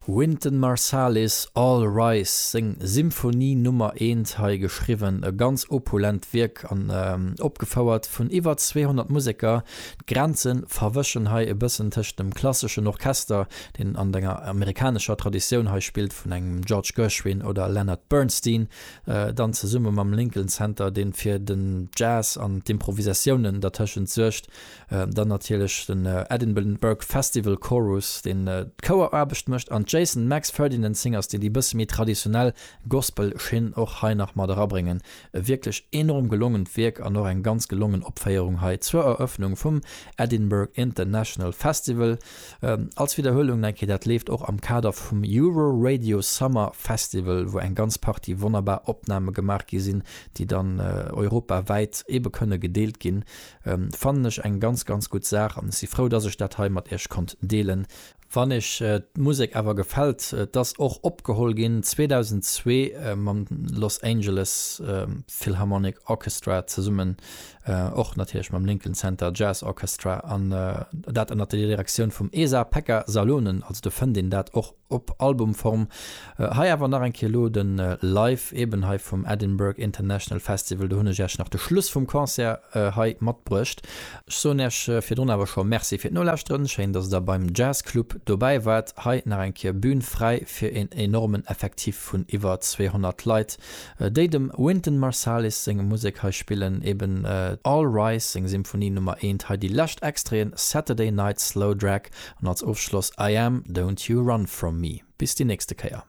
Wynton Marsalis, All Rise, seng Symphonie Nummer eent hei geschriwwen, e ganz opulent Wierk an opgefouert vun iwwer 200 Museker. D'Grenze verwëschen hei e bëssen tëscht dem klasseschen Orchester, deen an enger amerikanescher Traditioun hei spillt, vun engem George Gershwin oder Leonard Bernstein, dann zesumme mam Lincoln Center, dee fir den Jazz an d'Improvisatiounen dertëschent suergt. Dann natierlech den Edinburgh Festival Chorus, deen d'Choueraarbecht mécht, an d'Jason Max Ferdinand Singers, déi déi bësse méi traditionell Gospel-Schinn och hei nach mat erabréngen. E wierklech enorm gelongent Wierk an och eng ganz gelongen Opféierung hei zur Erëffnung vum Edinburgh International Festival. Als Widderhuelung nach eng Kéier, dat leeft och am Kader vum Euroradio Summer Festival, wou eng ganz Partie wonnerbar Opname gemaach gi sinn, déi dann europawäit ebe kënne gedeelt ginn. Fannen ech eng ganz ganz gutt Saach an ech si frou dass ech dat hei mat iech konnt deelen. Wann iech d'Musek awer gefält, et ass och opgeholl ginn 2002 mam Los Angeles Philharmonic Orchestra zesummen, och natierlech mam Lincoln Center Jazz Orchestra an dat ënnert der Direktioun vum Esa-Pekka Salonen, also do fënnt een dat och Op Albumform. Hei awer nach eng Kéier elo den Live eben hei vum Edinburgh International Festival. Do hunn ech Äech nach de Schluss vum Concert hei matbruecht. Ech soen Äech virdrun awer scho Merci fir d'Nolauschteren. Schéin dass der beim Jazz Club dobäi waart. Hei nach eng Kéier Bühn fräi fir een enormen Effektif vun iwwer 200 Leit déi dem Wynton Marsalis seng Musek hei spillen. Eben All Rise seng Symphonie Nummer 1. Hei déi lescht Extraiten, Saturday Night Slow Drag An als Ofschloss I Am, Don't You Run From Me. Bis déi nächste Kéier.